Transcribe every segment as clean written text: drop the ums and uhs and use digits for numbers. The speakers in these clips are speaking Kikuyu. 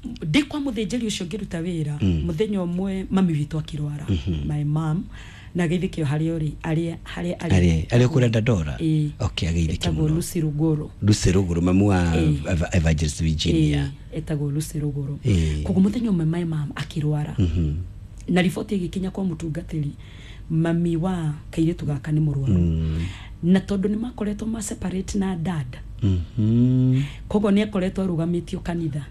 Ndĩ kwa mũthĩnjĩri ũcio ngĩruta wĩra, mũthenya ũmwe mami witũ akĩrwara, my mom, na geithĩkio harĩa ũrĩ, arĩa harĩa arĩ. Arĩ kũrĩa Dandora? Ĩĩ. Okay, ageithĩke Etagwo mũno. Lucy Ruguru. Lucy Ruguru, mamu wa Ĩĩ. Evangelist Virginia. Ĩĩ, etagwo Lucy Ruguru. Ĩĩ. Koguo mũthenya ũmwe my mom akĩrwara, na riboti ĩgĩkinya kwa mũtungatĩri, mami wa kairĩtu gaka nĩ mũrwaru, na tondũ nĩ makoretwo ma separate na dad, koguo nĩ akoretwo arũgamĩtio kanitha.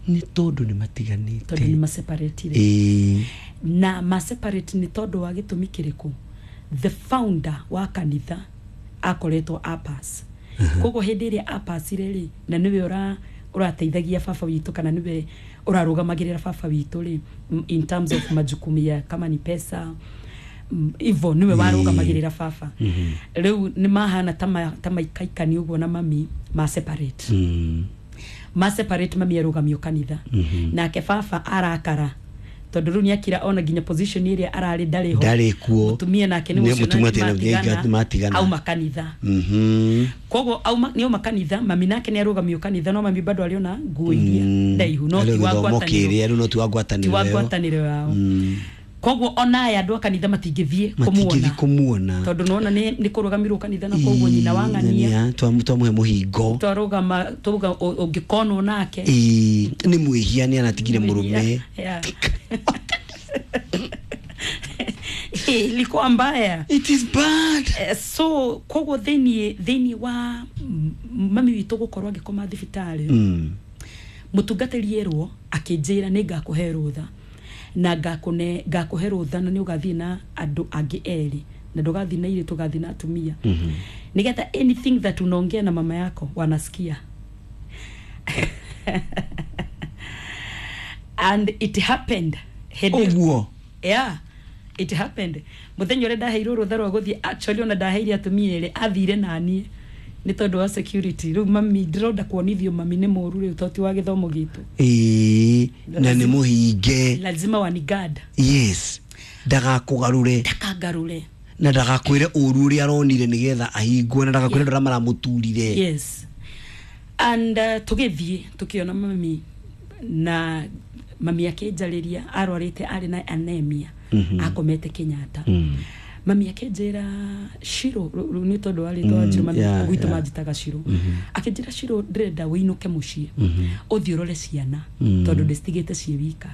Nĩ tondũ nĩ Tondũ nĩ matiganĩte. Maseparatire. Na ma separate nĩ tondũ wa gĩtũmi kĩrĩkũ? The founder wa kanitha akoretwo apass, koguo hĩndĩ ĩrĩa apasire rĩ, na nĩwe ũrateithagia baba witũ, kana nĩwe ũrarũgamagĩrĩra baba witũ rĩ, in terms of majukumu ya kama ni pesa, hivyo nĩwe warũgamagĩrĩra baba. Rĩu nĩ mahana ta maikaikani ũguo na mami ma separate. Ma separate, mami arũgamio kanitha, nake baba arakara tondũ rĩu nĩakira ona nginya position ĩrĩa ararĩ ndarĩ ho. Ndarĩ kuo. Mũtumia nake nĩ Nĩ ũcio mũtumia na tena nĩmatigana, nĩmatigana. Auma kanitha. Koguo auma nĩ auma kanitha, mami nake nĩ arũgamio kanitha, no mami bado arĩ ona nguo iria ndaihu, no Arĩ ti wa gĩthomo ngwatanĩro. kĩrĩa rĩu, no ti wa Ti ngwatanĩro wa ĩyo. ngwatanĩro yao. Koguo ona aya andũ a kanitha matingĩthiĩ Matingĩthiĩ kũmuona kũmuona. Tondũ nona nĩ kũrũgamirwo kanitha, na koguo nyina wa ng'ania Twamũhe mũhingo. Twarũgama tuga ũngĩkonwo nake Ĩĩ, nĩ mwĩhia, nĩ anatigire mũrũme. Yeah. Ilikuwa mbaya. It is bad. So koguo thĩinĩ wa mami witũ gũkorwo agĩkoma thibitarĩ, mũtungatĩri erwo akĩnjĩra nĩ ngakũhe rũtha na ngakũhe rũtha, na nĩ ũgathiĩ na andũ angĩ erĩ, na ndũgathiĩ na irĩtu, ũgathiĩ na atumia, nĩgetha anything that unaongea na mama yako wanasikia. And it happened. Ũguo. Yeah, it happened. Muthenya ũrĩa ndaheirwo rũtha rwa gũthiĩ, actually ona ndaheire atumia erĩ, athire naniĩ nĩ tondũ wa security. Rĩu mami ndĩronda kuonithio mami nĩ mũru rĩu, tondũ ti wa gĩthomo gitũ. Ĩĩ, na nĩ mũhinge. Lazima wanigad. Yes, ndagakũgarũre. Ndakangarũre. Na ndagakwĩre ũru ũrĩa aronire nĩgetha ahingwo, na ndagakwĩre andũ arĩa maramũturire. Yes, and tũgĩthiĩ tũkĩona mami, na mami akĩnjarĩria, arwarĩte, arĩ na anemia, akomete Kenyatta. Mami akĩnjĩra, "Shiro," rĩu nĩ tondũ wa rĩtwa Njirũ, mami gwitũ manjĩtaga Shiro, akĩnjĩra, "Shiro, ndĩrenda wĩinũke mũciĩ, ũthiĩ ũrore ciana, tondũ ndĩcitigĩte ciĩ wika."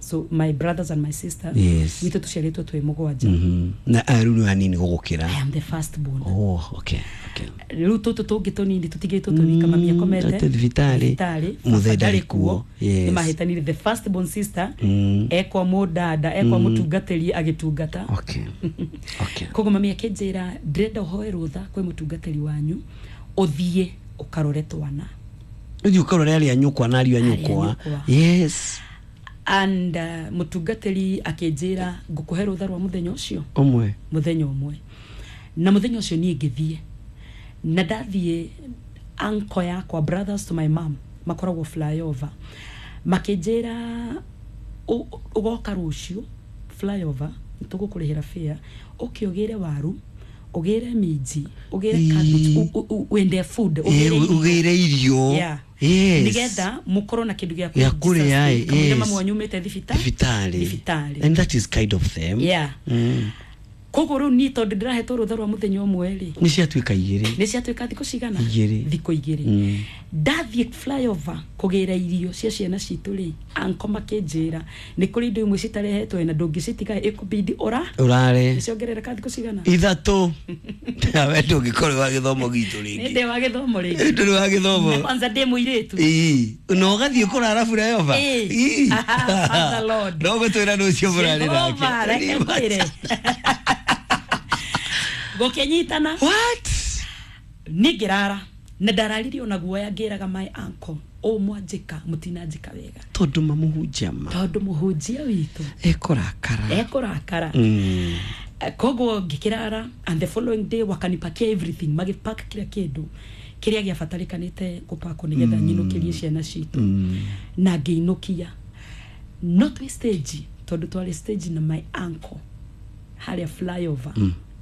So my brothers and my sister, gwitũ tũciarĩtwo twĩ mũgwanja. Na aya rĩu nĩ hanini gũgũkĩra. I am the first born. Oh, okay. Okay. Rĩu tũtũ tũngĩ tũnini tũtigĩtwo twĩ wika, mami akomete ate thibitarĩ. Thibitarĩ. Mũthee Baba ndarĩ kuo. Yes. Nĩmahĩtanire. The first born sister ekwa mũdada, ekwa mũtungatĩri agĩtungata. Koguo mami akĩnjĩra, "Ndĩrenda ũhoe rũtha kwĩ mũtungatĩri wanyu, ũthiĩ ũkarore twana." Ũthiĩ ũkarore arĩa nyũkwa na ariũ a Arĩa nyũkwa. Nyũkwa. And mũtungatĩri akĩnjĩra, "Ngũkũhe rũtha rwa mũthenya ũcio." Ũmwe. Mũthenya ũmwe. Na mũthenya ũcio niĩ ngĩthiĩ, na ndathiĩ, uncle yakwa, brothers to my mom, makoragwo Flyover, makĩnjĩra, "Ũgoka rũciũ Flyover, nĩtũgũkũrĩhĩra fare, ũke ũgĩre waru, ũgĩre minji, ũgĩre cabbage, wende food, ũgĩre irio." Ũgĩre irio. Nĩgetha mũkorwo na kĩndũ gĩa Gĩa kũrĩa, kamũira mamu wanyu umĩte thibitarĩ. Thibitarĩ. Thibitarĩ. And that is kind of them. Koguo rĩu niĩ tondũ ndĩrahetwo rũtha rwa mũthenya ũmwe rĩ, Nĩ ciatuĩka 2. Nĩ ciatuĩka thikũ cigana? 2. Thikũ 2. Ndathiĩ Flyover kũgĩra irio cia ciana citũ rĩ, anko makĩnjĩra nĩ kũrĩ indo imwe citarehetwo na ndũngĩcitiga, ĩkũbidi ũra Ũrare. Nĩ ciongerereka thikũ cigana? 3. Nawe ndũngĩkorwo wa gĩthomo gitũ Nĩ rĩngĩ. Ndĩ wa gĩthomo rĩngĩ. Ndũrĩ wa gĩthomo. Na kwanza ndĩ mũirĩtu. Ĩĩ, na ũgathiĩ kũrara Flyover. Ĩĩ. Ĩĩ. Aha, Father Lord. No gũtwĩra rũciũ mũrarĩ Jehova, nake. reke ngwĩre, gũkĩnyitana. What? Niĩ ngĩrara na ndararire ona guoya, ngĩraga my uncle, "Ũ mwanjĩka, mũtinanjĩka wega." Tondũ mamũhunjia ma Tondũ mũhunjia witũ ekũrakara. Ekũrakara. Koguo ngĩkĩrara, and the following day wakanipakia everything, magĩpack kila kĩndũ kĩrĩa gĩabatarĩkanĩte gũpakwo nĩgetha nyinũkĩrie ciana citũ, na ngĩinũkia. No twĩ stage, tondũ twarĩ stage na my uncle harĩa Flyover.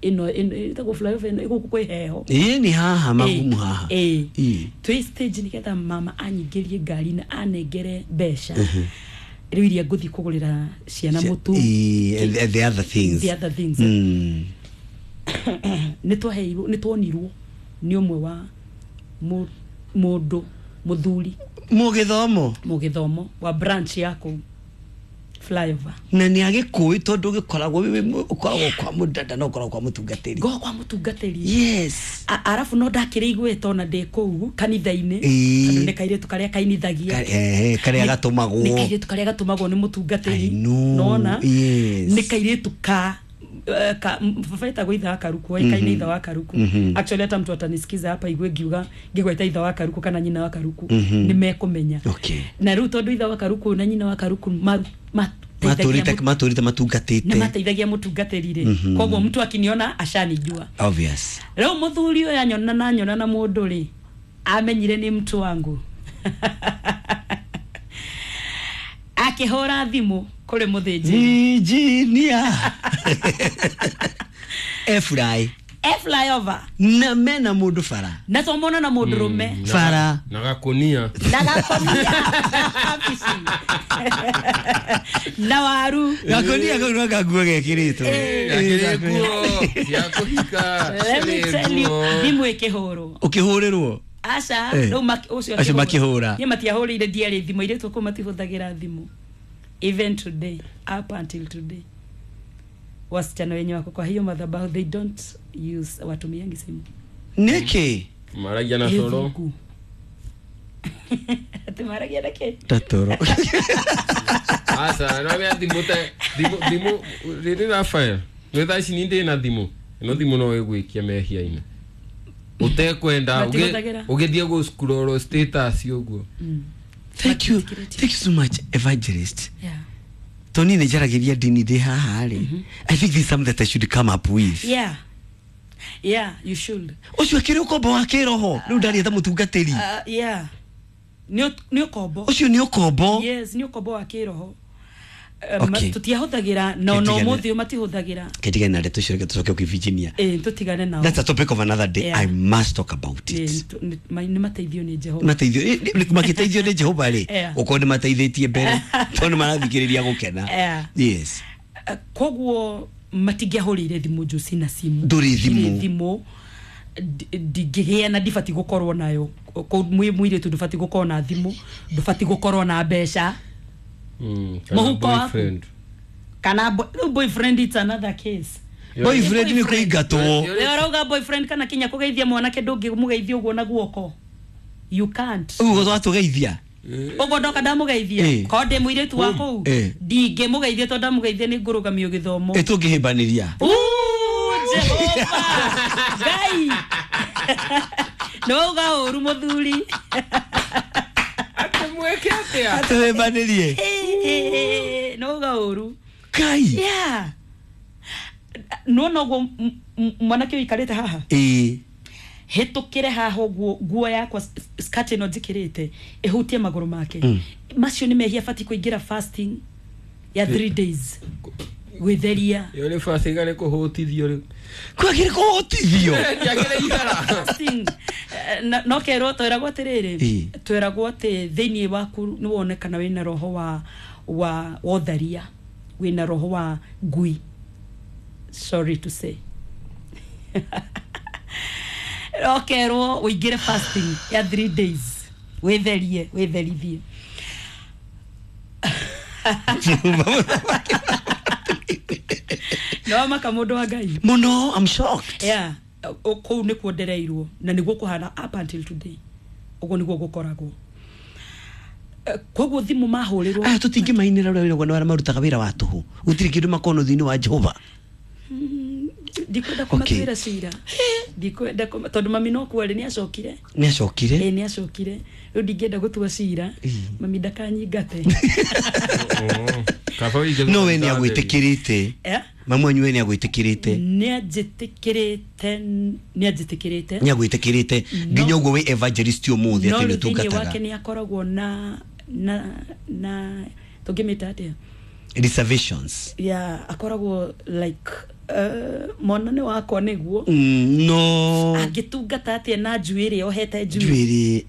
Ĩno ĩtagwo flyover ĩno ĩgũkũ kwĩ heho. Ĩĩ, nĩ haha magumu haha. Ĩĩ. Ĩĩ. Twĩ stage nĩgetha mama anyingĩrie ngari na anengere mbeca rĩu iria ngũthiĩ kũgũrĩra ciana mũtu. Ĩĩ, and the other things. The other things. Nĩ twaheirwo, nĩ tuonirwo nĩ ũmwe wa mũndũ mũthuri Mũgĩthomo. Mũgĩthomo wa branch ya kũu flyover. Na nĩ agĩkũĩ tondũ gĩkoragwo ũkoragwo kwa mũdada na ũkoragwo kwa mũtungatĩri. Ngoragwo kwa mũtungatĩri. Yes. Arabu no ndakĩrĩ igweta ona ndĩ kũu kanitha-inĩ. Ĩĩ. Tondũ nĩ kairĩtu karĩa kainithagia. Karĩa gatũmagwo. Nĩ kairĩtu karĩa gatũmagwo nĩ mũtungatĩri. I know. Nona? Yes. Nĩ kairĩtu ka baba etagwo ithe wa Karuku, oĩkaine ithe wa Karuku. Actually hata mtu atanisikiza hapa igue ngiuga ngigweta ithe wa Karuku kana nyina wa Karuku, nĩ mekũmenya. Okay. Na rĩu tondũ ithe wa Karuku na nyina wa Karuku matũrĩte matungatĩte. Nĩ mateithagia mũtungatĩri rĩ. Koguo mtu akiniona ashanijua. Obvious. Rĩu mũthuri ũyũ anyona na anyona na mũndũ rĩ, amenyire nĩ mtu wangu. Akĩhũra thimũ kũrĩ mũthĩnjĩri. Engineer. Efrai. Flyover. Na mena mũndũ bara. Na twamona na mũndũ rũme. Bara. Na gakonia. Na gakonia. Na waru. Gakonia kau no gakuo gekĩrĩtwo. Gakĩrĩ nguo cia kũhika. Let me tell you, thimũ ĩkĩhũrwo. Ũkĩhũrĩrwo? Aca, rĩu ũcio Acio makĩhũra. Niĩ matiahũrĩire, ndiarĩ thimũ, airĩtu kũu matihũthagĩra thimũ. Even today, up until today. Wasichana wenye wako kwa hiyo madhabahu, they don't use, watumiangi simu. Nĩkĩ? Maragia na toro. Ati maragia na kĩ? Ta toro. Aca, no mea thimũ ta thimũ rĩrĩ Raphael. Nĩ thaa ici ndĩ na thimũ. Ĩno thimũ no ĩgwĩkia mehia-inĩ. Ũtekwenda ũgĩthiĩ gũ scroll status ũguo. Thank you. Thank you so much, evangelist. Yeah. Tony nĩ njaragĩria ndini ndĩ haha rĩ. I think this is something that I should come up with. Yeah. Yeah, you should. Ũcio akĩrĩ ũkombo wa kĩroho. Rĩu ndaria ta mũtungatĩri. Yeah. Nĩ ũkombo. Ũcio nĩ ũkombo. Yes, nĩ ũkombo wa kĩroho. Okay. Tũtiahũthagĩra na no mũthĩ matihũthagĩra. Ketigane na ndeto icio, reke tũcoke kwĩ Virginia. Tũtigane nao. That's a topic of another day. Yeah. I must talk about it. Nĩ mateithio nĩ Jehova. Mateithio, makĩteithio nĩ Jehova rĩ. Yeah. Ũkorwo nĩ mateithĩtie mbere tondũ nĩ marathikĩrĩria gũkena. Yeah. Yes. Koguo matingĩahũrĩire thimũ njũ na simu. Ndũrĩ thimũ. Thimũ ndingĩgĩa na ndibatiĩ gũkorwo nayo. Mũirĩtu ndũbatiĩ gũkorwo na thimũ, ndũbatiĩ gũkorwo na mbeca. Kana boyfriend. Kana boyfriend, it's another case. Boyfriend ni kũingatwo. Rĩu ũrauga boyfriend kana kinya kũgeithia mwanake ndũngĩmũgeithia ũguo na guoko. You can't. Ũguo twatũgeithia. Ũguo ndoka ndamũgeithia. Korwo ndĩ mũirĩtu wa kũu, ndingĩmũgeithia tondũ ndamũgeithia nĩ ngũrũgamio gĩthomo. Tũngĩhĩmbanĩria. Jehova. Ngai. Nĩ wauga ũru mũthuri. Mweke atia? Atũhĩmbanĩrie. Nĩ wauga ũru. Kai. Yeah. No noguo mwanake ũikarĩte haha. Hĩtũkĩre haha ũguo nguo yakwa skirt ĩno njĩkĩrĩte ĩhutie magũrũ make. Macio nĩ mehia, batiĩ kũingĩra fasting ya 3 days. Gwĩtheria. Ĩyo nĩ fasting arĩ kũhũtithio rĩu. Kwagĩrĩ kũhũtithio? Ndiagĩrĩ ihara. Fasting. No kerwo twĩragwo atĩrĩrĩ, twĩragwo atĩ thĩinĩ waku nĩ wonekana wĩna roho wa ũtharia, wĩna roho wa ngui. Sorry to say. Okerwo ũingĩre fasting ya 3 days. Wĩtherie, wĩtherithie. No maka mũndũ wa Ngai. Mũno, I'm shocked. Yeah. Kũu nĩkuo ndereirwo na nĩguo kũhana up until today. Ũguo nĩguo gũkoragwo. Koguo thimũ mahũrĩrwo. Aya tũtingĩmainĩra ũrĩa wĩra arĩa marutaga wĩra wa tũhũ. Gũtirĩ kĩndũ makono thĩinĩ wa Jehova. Ndikwenda kũmatuĩra cira. Ndikwenda tondũ mami no kuo rĩ nĩ acokire. Nĩ acokire? Nĩ acokire. Rĩu ndingĩenda gũtua cira. Mami ndakanyingate. No we nĩ agwĩtĩkĩrĩte. Mamu wanyu we nĩ agwĩtĩkĩrĩte. Nĩ anjĩtĩkĩrĩte, nĩ anjĩtĩkĩrĩte. Nĩ agwĩtĩkĩrĩte nginya ũguo wĩ evangelist ũmũthĩ atĩ nĩ ũtungataga. No thĩinĩ wake nĩ akoragwo na tũngĩmĩta atĩa? Reservations. Yeah, akoragwo like Mwana nĩ wakwa nĩguo no angĩtungata atĩa na njuĩrĩ ohete njuĩrĩ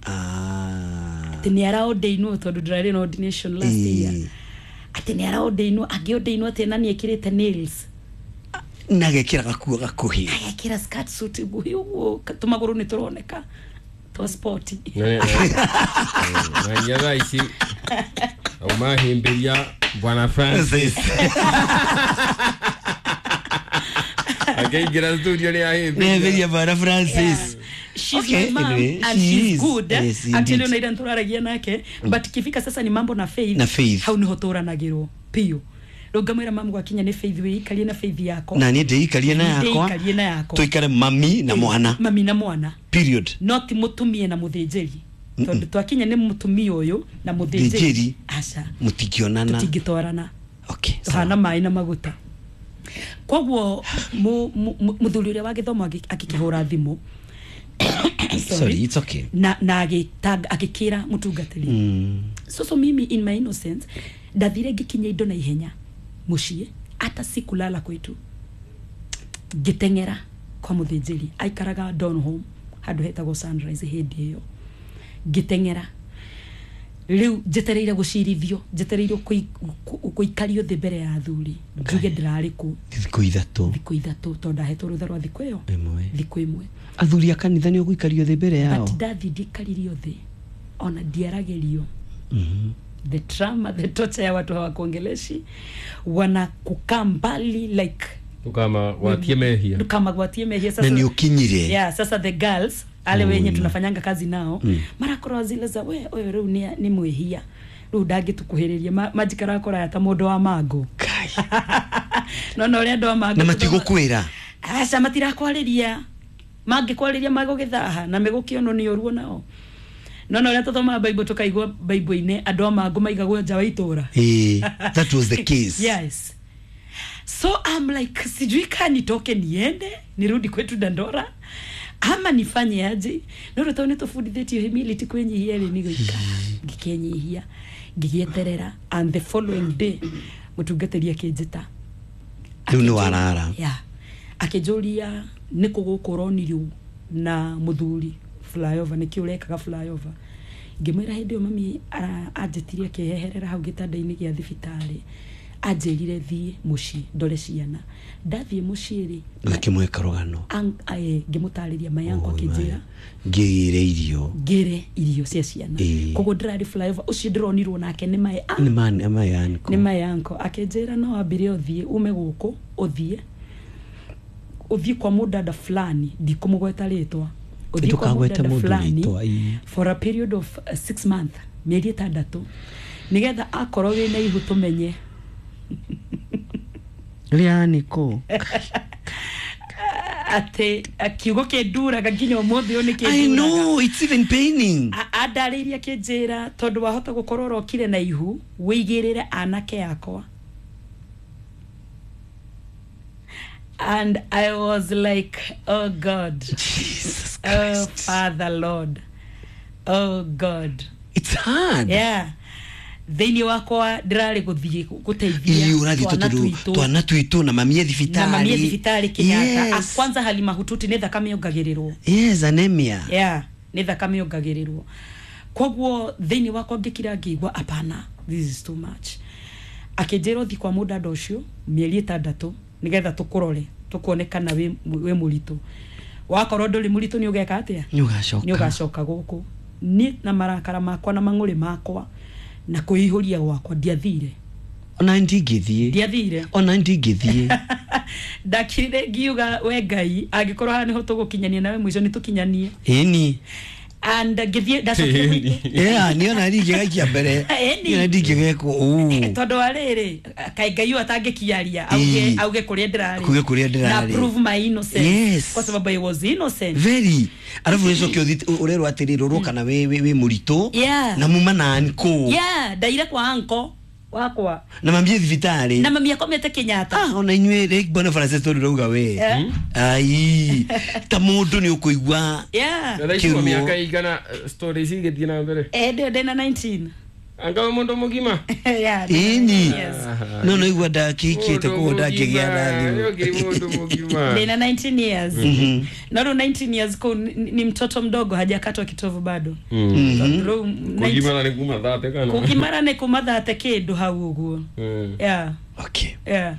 atĩ nĩ araordainwo tondũ ndĩrarĩ na ordination last year atĩ nĩ araordainwo angĩordainwo atĩa na nĩ ekĩrĩte nails na agekĩra gakuo gakuhĩ agekĩra skirt suit nguhĩ ũguo tũmagũrũ nĩ tũroneka twa sport na thaa ici aumahĩmbĩria bwana Francis akaingĩra studio nĩ ahĩmbĩria bwana Francis. She's okay, my mom, anyway, and she's good. Yes, actually ona ira ntũraragia nake but kifika sasa ni mambo na faith, na faith hau niho tũranagĩrwo piũ. Rĩu ngamwĩra mamu gwakinya nĩ faith wĩikarie na faith yakwa na niĩ ndĩikarie na yakwa ndĩikarie na yakwa tũikare mami na mwana, mami na mwana period, no ti mũtumia na mũthĩnjĩri tondũ twakinya nĩ mũtumia ũyũ na mũthĩnjĩri aca mũtingĩonana tũtingĩtwarana. Okay, tũhana maĩ na maguta. Koguo mũthuri ũrĩa wa gĩthomo agĩkĩhũra thimũ. Sorry, it's okay. Na agĩkĩra mũtungatĩri. So mimi in my innocence ndathire ngĩkinya indo na ihenya mũciĩ hata sikulala kwetu ngĩteng'era kwa mũthĩnjĩri aikaraga Donholm handũ hetagwo Sunrise hĩndĩ ĩyo ngĩteng'era rĩu njetereire gũcirithio njetereire gũikario thĩ mbere ya athuri njuge ndĩrarĩ kũ thikũ ithatũ tondũ ndahetwo rũtha rwa thikũ ĩyo thikũ ĩmwe. Athuri a kanitha nĩ ũgũikario thĩ mbere yao? But ndathi ndikaririo thĩ ona ndiaragĩrio. The trauma, the torture ya watu hawakuongeleshi, wanakukaa mbali like ndukama gwatie mehia. Sasa na ni ukinyire. Yeah, sasa the girls ale wenye tunafanyanga kazi nao marakorwo zile za we oyo riu ni mwihia riu ndangitukuhiriria majikara kora ta mundu wa mango no no ria andu a mango na matigukwira aca matirakwariria mangikwariria magugithaha na megukiono ni uruo nao no no ria tuthomaga Bible tukaigua Bible-ini andu a mango maigagwo nja wa itura. That was the case. Yes. So I'm like sijui ka nitoke niende nirudi kwetu Dandora ama nifanye aje no rä tondå nä tå bundithä humility kwĩnyihia rĩ nĩ gũikara ngĩkenyihia ngĩgĩeterera and the following day mũtungatĩri akĩnjĩta rĩu nĩ warara yeah akĩnjũria nĩ kũ gũkũ ũronirio na mũthuri flyover nĩkĩ ũrekaga flyover ngĩmwĩra hĩndĩ ĩyo mami anjĩtirie akĩheherera hau gĩtanda-inĩ gĩa thibitarĩ anjĩrire thiĩ mũciĩ ndore ciana ndathiĩ mũciĩ rĩ ngĩkĩmwĩka rũgano ngĩmũtarĩria mai yakwa akĩnjĩra ngĩgĩre irio ngĩre irio cia ciana koguo ndĩrarĩ flyover ũcio ndĩronirwo nake nĩ mai nĩ mai anko akĩnjĩra no ambire ũthiĩ ume gũkũ ũthiĩ kwa mũdada fulani ndikũmũgweta rĩtwa ũthiĩ kwa mũdada fulani for a period of 6 months mĩeri 6 nĩgetha akorwo wĩna ihu tũmenye Rianiko ate kiugo kĩnduraga nginya ũmũthĩ ũyũ nĩ kĩnduraga. I know it's even paining. Andarĩirie akĩnjĩra tondũ wahota gũkorwo ũrokire na ihu wĩigĩrĩre anake akwa and I was like oh God, Jesus Christ, oh Father Lord, oh God, it's hard. Yeah, thĩinĩ wakwa ndĩrarĩ gũthiĩ gũteithia twana twitũ na mami e thibitarĩ Kenyatta. Yes. Kwanza hali mahututi nĩ thakame yongagĩrĩrwo. Yes, anemia. Yeah, nĩ thakame yongagĩrĩrwo. Koguo thĩinĩ wakwa ngĩkira ngĩigua apana, this is too much. Akĩnjĩra ũthiĩ kwa mũdada ũcio mĩeri 6 nĩgetha tũkũrore tũkuone kana wĩ mũritũ. Wakorwo ndũrĩ mũritũ nĩ ũgeka atĩa? Nĩ ũgacoka gũkũ. Niĩ na marakara makwa na mang'ũrĩ makwa na kwĩihũria gwakwa ndiathire ona ndingĩthiĩ ona ndingĩthiĩ ndakirire ngiuga we Ngai angĩkorwo haha nĩho tũgũkinyania nawe mũico nĩ tũkinyanie ĩni and ngĩthiĩ ndacokire gwitũ yeah niĩ ona ndingĩgaikia mbere niĩ ona ndingĩgekwo ũũ tondũ wa rĩrĩ kaĩ Ngai ũyũ atangĩkiaria auge kũrĩa ndĩrarĩ kuge kũrĩa ndĩrarĩ na prove my innocence. Yes. Kwa sababu I was innocent very arabu ũcoke ũthiĩ ũrerwo atĩrĩrĩ rũrwo kana wĩ mũritũ yeah. na muma na anko yeah ndaire kwa anko wakwa na mami thibitarĩ na mami akomete Kenyatta ona inyuĩ rĩ bwana Francis tondũ rauga we ai ta mũndũ nĩ ũkũigua yeah kĩruo mĩaka igana stories igĩthiĩ na mbere ndĩ na 19 Anga wĩ mũndũ mũgima. Yeah, Ĩni. yes. No no igua ndakĩhikĩte koguo ndangĩgĩa na thimũ. Ũngĩ mũndũ mũgima. Nina 19 years. No rĩu 19 years kũu ni mtoto mdogo, hajakatwa kitovu bado. Tondũ rĩu Kũgimara nĩ kuma thate kana? Kũgimara nĩ kuma thate kĩndũ hau ũguo. Yeah. Okay. Yeah.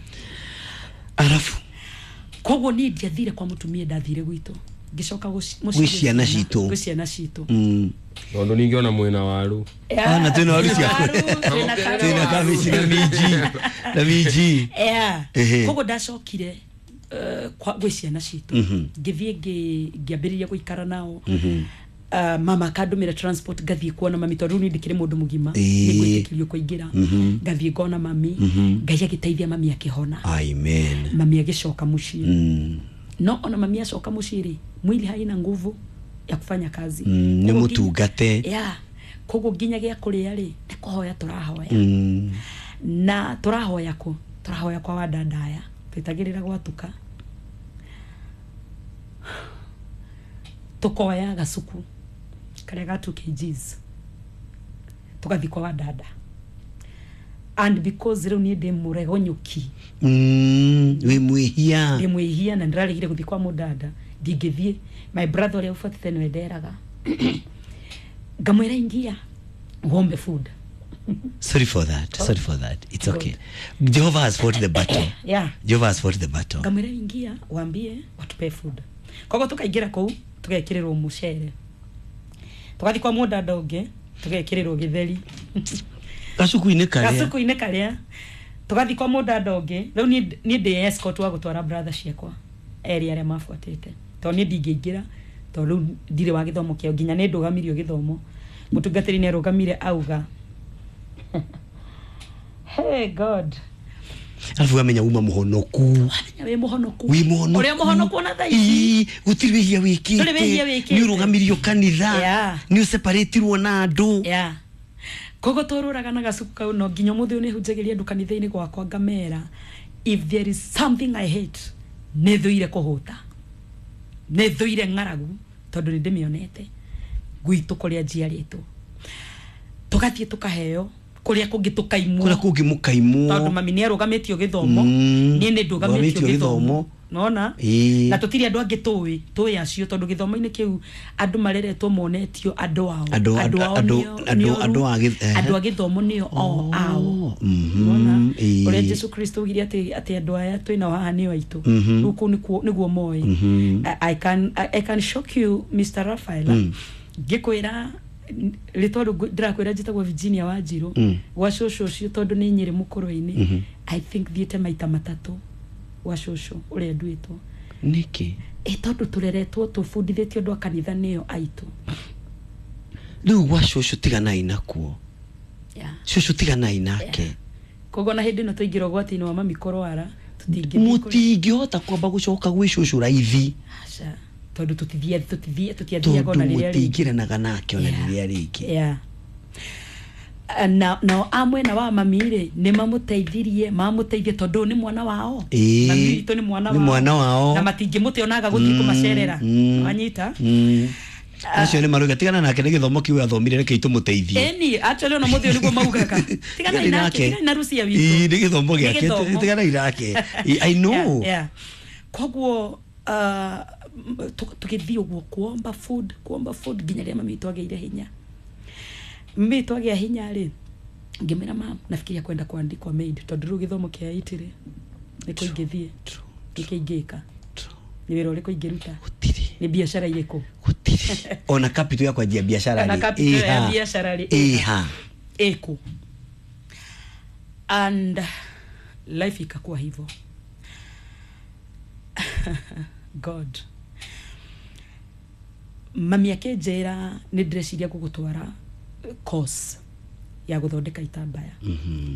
Arafu Koguo niĩ ndiathire kwa mũtumia, ndathire gwitũ, ngĩcoka Gwĩ ciana citũ. Gwĩ ciana citũ. Tondũ ningĩ ona mwĩna waru. Yeah, Ah, na twĩna waru ciaku. waru, twĩna Twĩna karoti. kabici na minji na minji. Yeah. Ehe. Koguo ndacokire gwĩ ciana citũ, ngĩthiĩ ngĩambĩrĩria gũikara nao. Mama akandũmĩra transport ngathiĩ kuona mami, tondũ rĩu niĩ ndĩkĩrĩ mũndũ mũgima, nĩngwĩtĩkĩrio kũingĩra. Ngathiĩ ngona mami. Ngai agĩteithia, mami akĩhona. Amen. Mami agĩcoka mũciĩ. No ona mami acoka mũciĩ rĩ, mwili haina nguvu ya kufanya kazi. Nĩ Koguo mũtungate. Yeah. Koguo nginya gĩa kũrĩa rĩ, nĩ kũhoya tũrahoya. Na tũrahoya kũ? Tũrahoya kwa wadandaya, twĩtagĩrĩra gwatuka, tukoya gacuku karĩa ga 2 kgs, tũgathiĩ kwa wadada. And because rĩu niĩ ndĩ mũregonyũki, Wĩ mwĩhia. Ndĩ mwĩhia na ndĩraregire gũthiĩ kwa mũdada, ndingĩthiĩ. My brother ũrĩa ũbuatĩte nĩwe nderaga, ngamwĩra, "Ingia uombe food." Sorry for that. Sorry for that. It's okay. Jehovah has fought the battle. Yeah. Jehovah has fought the battle. Ngamwĩra, "Ingia wambie watupe food." Koguo tukaingĩra kũu, tũgekĩrĩrwo mũcere, tũgathiĩ kwa mũdada ũngĩ, tũgekĩrĩrwo gĩtheri. Gacuku-inĩ karĩa. Gacuku-inĩ karĩa. Tũgathiĩ kwa mũdada ũngĩ. Rĩu niĩ ndĩ escort wa gũtwara brother ciakwa erĩ arĩa mabuatĩte, tondũ niĩ ndingĩingĩra, tondũ rĩu ndirĩ wa gĩthomo kĩao. Nginya nĩ ndũgamirio gĩthomo, mũtungatĩri nĩ arũgamire auga, "Hey God." Arabu wamenya uma mũhonoku. Wamenya wĩ mũhonoku. Wĩ mũhonoku. Ũrĩa mũhonoku ona thaa ici. Ii, gũtirĩ wĩhia wĩkĩte. Ndũrĩ wĩhia wĩkĩte. Nĩ ũrũgamirio kanitha. Yeah. Nĩ ũseparĩtirwo na andũ. Yeah. Koguo tũrũraga na gacuku kau, no nginya ũmũthĩ ũyũ nĩ hunjagĩria andũ kanitha-inĩ gwakwa, ngamera, if there is something I hate, nĩ thũire kũhũta, nĩ thũire ng'aragu, tondũ nĩ ndĩmĩonete gwitũ kũrĩa njiarĩtwo. Tũgathiĩ tũkaheo, kũrĩa kũngĩ tũkaimwo. Kũrĩa kũngĩ mũkaimwo. Tondũ mami nĩ arũgamĩtio gĩthomo, niĩ nĩ ndũgamĩtio Ndũgamĩtio gĩthomo. Gĩthomo. Nona na tũtirĩ andũ angĩ tũĩ acio, tondũ gĩthomo-inĩ kĩu andũ mareretwo monetio andũ ao. Ao andũ a andũ a gĩthomo nĩo o ao. Nona ũrĩa Jesu Kristo augire atĩ andũ aya twĩnao haha nĩo aitũ. Rĩu kũu nĩguo moĩ. I can shock you, Mr. Raphael, ngĩkwĩra rĩtwa rĩu ndĩrakwĩra njĩtagwo Virginia Wanjirũ. Gwa cũcũ ũcio, tondũ nĩ nyĩrĩ mũkũrũ-inĩ, I think thiĩte maita matatũ gwa cũcũ ũrĩa nduĩtwo. Nĩkĩ? Ĩ tondũ tũreretwo tũbundithĩtio andũ a kanitha nĩo aitũ. Rĩu gwa cũcũ tiganai nakuo. Yeah. Cũcũ tiganai nake. Koguo na hĩndĩ ĩno tũingĩra ũgwati-inĩ wa mami kũrwara, tũtingĩthiĩ Mũtingĩhota kwamba gũcoka gwĩ cũcũ raithi. Aca, tondũ tũtiathiaga Tondũ ona rĩrĩa rĩngĩ. Mũtingĩranaga nake ona rĩrĩa rĩngĩ. Yeah. Na nao a mwena wa mami rĩ, nĩ mamũteithirie, mamũteithie tondũ ũyũ nĩ mwana wao. Mami witũ nĩ mwana Nĩ wao. mwana wao. Na matingĩmũte onaga gũthiĩ kũmacerera. Wanyita? Acio nĩ marauga tigana nake, nĩ gĩthomo kĩu athomire, reke itũmũteithie. Ĩni, actually ona mũthĩ ũyũ nĩguo maugaga, "Tiganai nake, tiganai na Rucia witũ." Ii, nĩ gĩthomo Nĩ gĩake. gĩthomo. Tiganai nake. I know. Yeah. Koguo tũgĩthiĩ ũguo kuomba food, kuomba food, nginya rĩrĩa mami witũ agĩire hinya. Mami witũ agĩa hinya rĩ, ngĩmwĩra, "Mam, nafikiria kwenda kuandikwa maid, tondũ rĩu gĩthomo kĩa IT rĩ, nĩkũ ingĩthiĩ, nĩkĩ ingĩka, nĩ wĩra ũrĩkũ ingĩruta?" Gũtirĩ. Nĩ biacara irĩkũ? Gũtirĩ ona capital ya kwanjia biacara. Ona Rĩ capital ya ĩha. biacara rĩ, ĩha. Ĩkũ? And life ikakuwa hivyo. God, mami akĩnjĩra, "Nĩ ndĩreciria gũgũtwara course ya gũthondeka itambaya,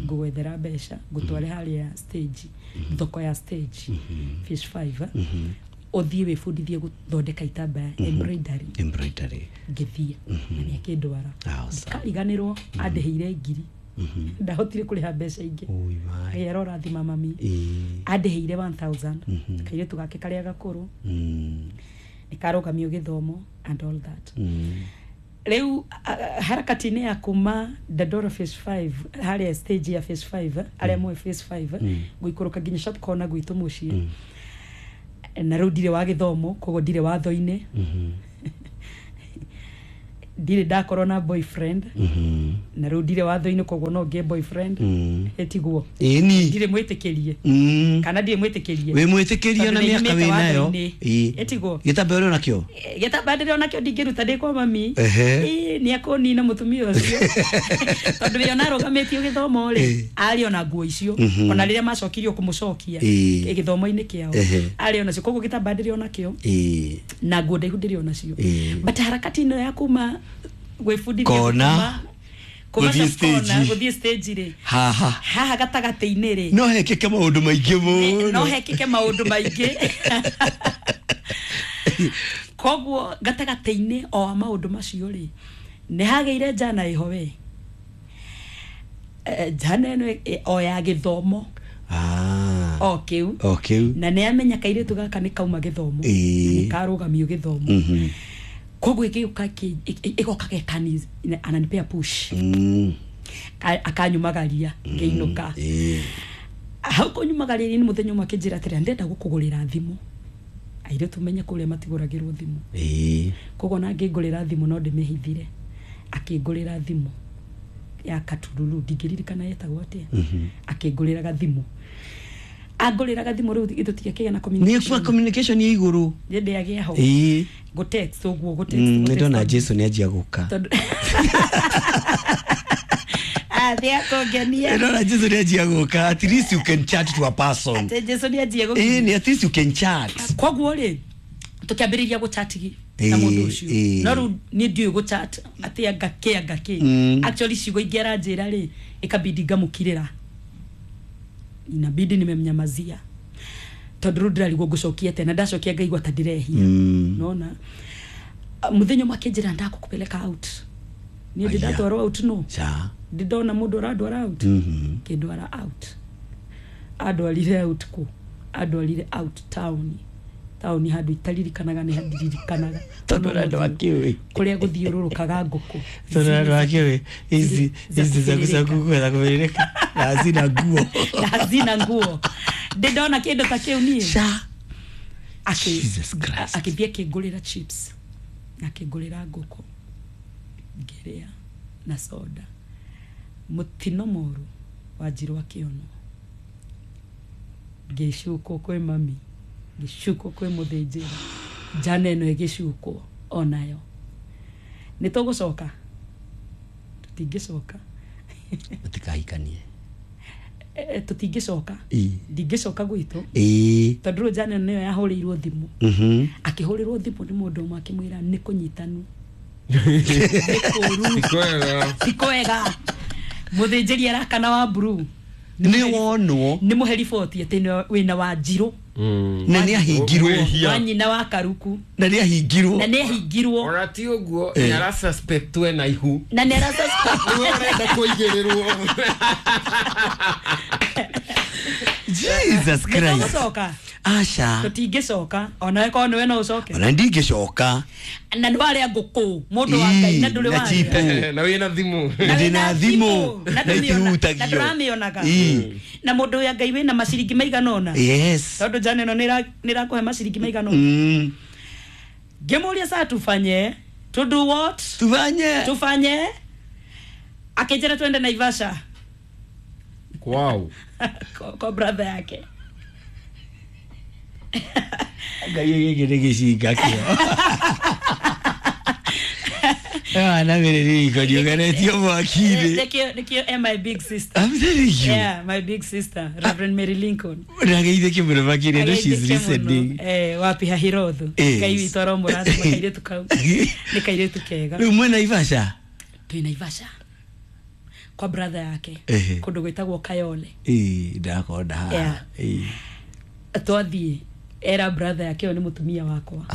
ngũgwethera mbeca ngũtware harĩa stage, thoko ya stage, Fish 5, ũthiĩ wĩbundithie gũthondeka itambaya, embroidery." Embroidery. Ngĩthiĩ, mami akĩndwara. Awesome. Kariganĩrwo andĩhĩire ngiri, ndahotire kũrĩha mbeca ingĩ. Ui, my. Ngai arorathima mami. Andĩhĩire 1000, kairĩtu gake karĩa gakũrũ nĩ karũgamio gĩthomo and all that. Rĩu harakati-inĩ ya kuma Dandora phase 5 harĩa stage ya phase 5 arĩa moĩ phase 5 gũikũrũka nginya sharp corner gwitũ mũciĩ na rĩu ndirĩ wa gĩthomo koguo ndirĩ watho-inĩ ndirĩ ndakorwo na boyfriend na rĩu ndirĩ watho-inĩ koguo no ngĩe boyfriend ĩtiguo Ĩni. ndirĩ mwĩtĩkĩrie kana ndirĩ mwĩtĩkĩrie Wĩ mwĩtĩkĩrie na Tondũ mĩaka nĩ wĩ nayo. nyumĩte watho-inĩ. Ĩtiguo Gĩtambaya ũrĩ onakĩo? Gĩtambaya ndĩrĩ onakĩo ndingĩruta ndĩ kwa mami. Ehe. Ĩĩ, nĩ akũnina mũtumia ũcio tondũ we ona arũgamĩtio gĩthomo rĩ Ĩĩ. arĩ ona nguo icio ona rĩrĩa macokirio kũmũcokia Ĩĩ. gĩthomo-inĩ kĩao Ehe. arĩ onacio koguo gĩtambaya ndĩrĩ onakĩo Ĩĩ. na nguo ndaihu ndĩrĩ onacio Ĩĩ. but harakati ĩno ya kuma gwĩbundithia Kona. kuma Gũthiĩ sharp corner, stage. gũthiĩ stage rĩ Haha. haha gatagatĩ-inĩ rĩ No hekĩke maũndũ maingĩ mũno. no hekĩke maũndũ maingĩ koguo gatagatĩ-inĩ o wa maũndũ macio rĩ nĩ hagĩire njana ĩho we njana ĩno o ya gĩthomo Ah. o kĩu O kĩu. na nĩ amenya kairĩtu gaka nĩ kauma gĩthomo Ĩĩ. nĩ karũgamio gĩthomo koguo ĩgĩũka ĩgoka gekani ananipea push akanyumagaria ngĩinũka Ĩĩ. hau kũnyumagaria nĩ mũthenya ũmwe akĩnjĩra atĩrĩ ndenda gũkũgũrĩra thimũ airĩtu menye kũrĩa matigũragĩrwo thimũ Ĩĩ. koguo na angĩngũrĩra thimũ no ndĩmĩhithire akĩngũrĩra thimũ ya katururu ndingĩririkana yetagwo atĩa akĩngũrĩra gathimũ angũrĩra gathimũ rĩu tũtiakĩgĩa na Nĩ kwa communication communication ya igũrũ. nĩ ndĩagĩa ho Ĩĩ. gũ text ũguo gũ text gũ Nĩ text ndona tondũ- Jason nĩ anjia gũka. tondũ athĩ akũngenia Nĩ ndona Jason nĩ anjia gũka. At least you can chat to a person. atĩ Jason nĩ anjie Ĩĩ gũkinya nĩ at least you can chat. koguo rĩ tũkĩambĩrĩria gũchatigi na Ĩĩ, mũndũ ũcio ĩĩ. no rĩu niĩ ndiũĩ gũchat atĩ anga kĩ anga kĩ actually ciugo ingĩ aranjĩra rĩ ĩkabidi ngamũkirĩra inabidi nimemnyamazia tondũ rĩu ndĩrarigwo ngũcokia atĩa na ndacokia ngaigua ta ndĩrehia nona mũthenya ũmwe akĩnjĩra ndakũkũpeleka out niĩ ndĩ Aya. ndatwarwo out no Ca. ndĩ ndona mũndũ ũrandwara out kĩndwara out andwarire out kũ andwarire out taũni taũni handũ itaririkanaga nĩ handiririkanaga Tondũ ũrĩa andũ akĩũĩ. kũrĩa gũthiũrũrũkaga ngũkũ Tondũ andũ akĩũĩ ici Za ici za kũbĩrĩrĩka. kukwetha kũbĩrĩrĩka na hazina nguo. Na hazina nguo ndĩ ndona kĩndũ ta kĩu niĩ Ca. Akĩ- Jesus Christ. akĩthiĩ akĩngũrĩra chips na akĩngũrĩra ngũkũ ngĩrĩa na soda mũtino moru wanjirwo akĩonwo ngĩcukwo kwĩ mami ngĩcukwo kwĩ mũthĩnjĩri njana ĩno ĩgĩcukwo onayo nĩ tũgũcoka tũtingĩcoka Mũtikahikanie. Tũtingĩcoka Ĩĩ. ndingĩcoka gwitũ Ĩĩ. tondũ rĩu njana ĩno nĩyo yahũrĩirwo thimũ akĩhũrĩrwo thimũ nĩ mũndũ ũmwe akĩmwĩra nĩ kũnyitanu nĩ kũũru Ti kwega. ti kwega mũthĩnjĩri arakana wa mburuu Nĩ wonwo nĩ mũhe riboti atĩ wĩna wa njirũ na nĩ ahingirwo Wĩhia. wa nyina wa karuku na nĩ ahingirwo na nĩ ahingirwo Ona ti ũguo nĩ arasuspect we na ihu na nĩ arasuspect nĩwe ũrenda kũigĩrĩrwo Jesus Christ. Nĩtũgũcoka Aca. tũtingĩcoka onawe korwo nĩwe no ũcoke Ona ndingĩcoka. na nĩ warĩa ngũkũ mũndũ wa Ngai na ndũrĩ Na warĩa chipu. na wĩna thimũ Na ndĩna thimũ na na ndũmĩona- na itihutagio. ndũramĩonaga Ĩĩ. na mũndũ ya Ngai wĩna maciringi maigana ũna Yes. tondũ njana ĩno nĩ ĩrakũhe maciringi maigana ũna Ngĩmũria saa tufanye to do what Tufanye. tufanye akĩnjĩra twende Naivasha Wow. kwa brother yake Ngai gĩkĩ nĩ gĩcinga kĩo. Wana mĩrĩrĩko ndiũganĩtio mwaki-inĩ. Nĩkĩo my big sister. I'm telling you. Yeah, my big sister Reverend Mary Lincoln. Ndageithĩke mũno makĩria no she's Ageithĩke mũno. listening. Wapi hahirothu Yes. Ngai witũ aromũrathima kairĩtu kau nĩ kairĩtu kega Rĩu mwĩ Naivasha? Twĩ Naivasha kwa brother yake Ehe. kũndũ gwĩtagwo Kayole. Ĩĩ ndakonda haha. Yeah. Ĩĩ. Twathiĩ era brother yake ũyũ nĩ mũtumia wakwa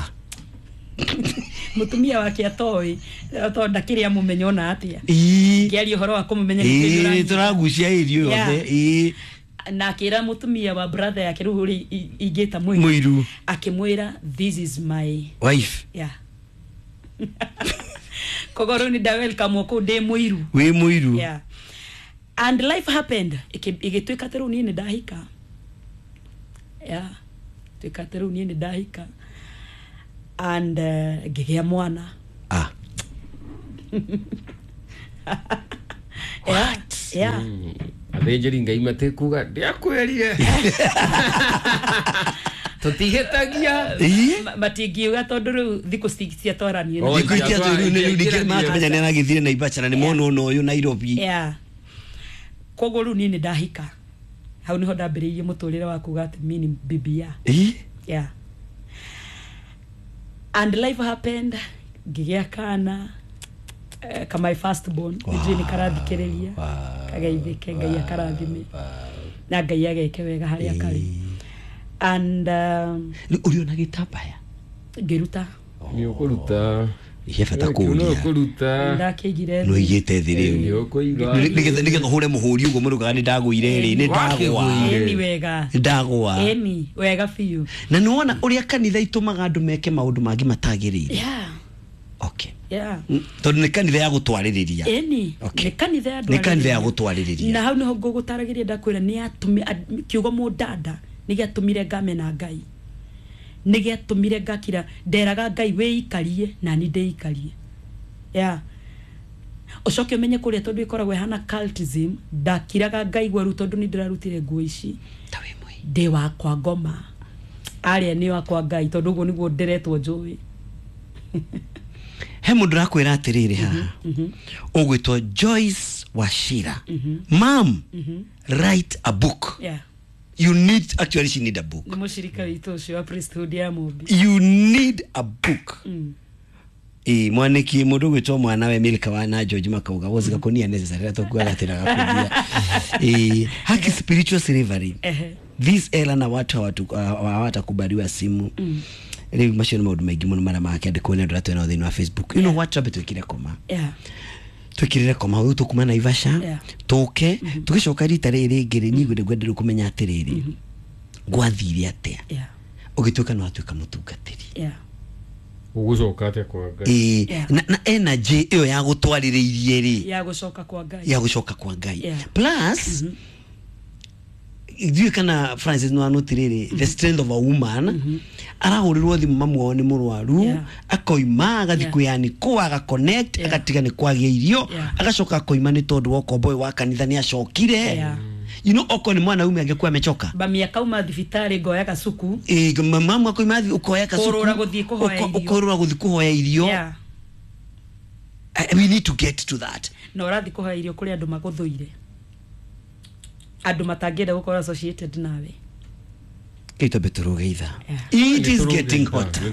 mũtumia wake atoĩ tondũ ndakĩrĩ amũmenya ona atĩa Ĩĩ. ngĩaria ũhoro wa kũmũmenya Ĩĩ nĩ tũragucia irio Yeah. yothe. Ĩĩ. na akĩra mũtumia wa brother yake rĩu ũrĩa ingĩta mũiru Mũiru. akĩmwĩra this is my Wife. yeah. Koguo rĩu nĩ nda welcome kũu ndĩ mũiru. Wĩ mũiru. Yeah. And life happened. Ĩgĩtuĩka atĩ rĩu niĩ nĩ ndahika. Yeah. Tuĩka atĩ rĩu niĩ nĩ ndahika. And ngĩgĩa mwana. Ah. Yeah. Yeah. Athĩnjĩri ngai matikuga ndiakwĩrire tũtihĩtagia. Ĩĩ. Matingiuga tondũ rĩu thikũ ciatwaranie. Oh, Thikũ ici atĩ rĩu nĩ ningĩ makamenya nĩ aragĩthire Naivasha na nĩ mona ũna ũyũ Nairobi. Yeah. Koguo rĩu niĩ nĩ ndahika. Hau nĩho ndambĩrĩirie mũtũrĩre wa kuga atĩ mi ni bibi ya. Ĩĩ. Yeah. And life happened, ngĩgĩa kana ka my first born. Nĩnjũĩ nĩ karathikĩrĩria. Kageithĩke, Ngai akarathime. Na Ngai ageke wega harĩa karĩ. And Rĩu ũrĩ ona gĩtambaya? Ngĩruta. Nĩ ũkũruta. He bata Nĩ kũũria. ũkũruta. Ndakĩigire No thĩ. igĩte thĩ rĩu. Nĩ ũkũiga. Nĩgetha ũhũre mũhũri ũguo mũrũgaga nĩ ndagũire rĩ, nĩ ndagwa. Wakĩgũire. Ĩni wega. Nĩ ndagwa. Ĩni wega biũ. Na nĩ wona ũrĩa kanitha itũmaga andũ meke maũndũ mangĩ matagĩrĩire. Yeah. Okay. Yeah. Tondũ nĩ kanitha ya gũtwarĩrĩria. Ĩni. Okay. Nĩ kanitha ya Nĩ kanitha ya gũtwarĩrĩria. Na hau nĩho ngũgũtaragĩria ndakwĩra nĩ yatũmi kiugo mũndanda nĩ gĩatũmire ngamena Ngai. Nĩ gĩatũmire ngakira nderaga Ngai wĩikarie na ni ndĩikarie. Yeah. Ũcoke ũmenye kũrĩa tondũ ĩkoragwo ĩhana cultism, ndakiraga ngaigua rĩu tondũ nĩ ndĩrarutire nguo ici. Ta wĩ mwĩ. Ndĩ wakwa ngoma. Arĩa nĩ wakwa Ngai tondũ ũguo nĩguo ndĩretwo njũĩ. He mũndũ ũrakwĩra atĩrĩrĩ haha ũgwĩtwo Joyce Wachira, mam, write a book. Yeah. You need, actually she need a book. Nĩ mũcirika witũ ũcio wa priesthood ya Mũmbi. You need a book. Ĩ mwaniki mũndũ ũgwĩtwo mwana we Milka wa na George makauga woziga kunia necessary atokuaga tena gakugia. Ĩ haki spiritual slavery. Ehe. This era na watu hawatakubaliwa simu. Rĩu macio nĩ maũndũ maingĩ mũno marĩa makĩandĩkwo nĩ andũ arĩa twĩnao thĩinĩ wa Facebook. You know what, twambe twĩkire koma. Yeah. Twĩkĩrĩre koma rĩu tũkuma Naivasha. Yeah. Tũke tũgĩcoka rita rĩrĩ rĩngĩ rĩ niĩ ngwenda rĩu kũmenya atĩrĩrĩ gwathire atĩa Yeah. ũgĩtuĩka nĩ watuĩka mũtungatĩri. Yeah. Ũgũcoka atĩa kwa Ngai? Ĩĩ, Yeah. na energy ĩyo ya gũtwarĩrĩirie rĩ Ya gũcoka kwa Ngai. ya gũcoka kwa Ngai. Yeah. Plus ithuĩ kana Francis no anũtirĩrĩ the strength of a woman arahũrĩrwo thimũ mamu wao nĩ mũrwaru. Yeah. Akoima agathiĩ Yeah. kwĩyanĩkwo agaconnect. Yeah. Agatiga nĩ kwagĩa irio. Yeah. Agacoka akoima nĩ tondũ wa ũkombo ũyũ wa kanitha nĩ acokire. Yeah. You know okorwo nĩ mwanaume angĩkuwa amechoka. Bami akauma thibitarĩ ngoya gacuku. Ĩ, mamu akoima ũkoya gacuku. Kũrũra gũthiĩ kũhoya irio. Ũkorũra gũthiĩ kũhoya irio. Yeah. We need to get to that. Na ũrathiĩ kũhoya irio kũrĩ andũ magũthũire. Andũ matangĩenda gũkorwo associated nawe. Kĩu twambe tũrũge ithaa. Yeah. It is getting hotter.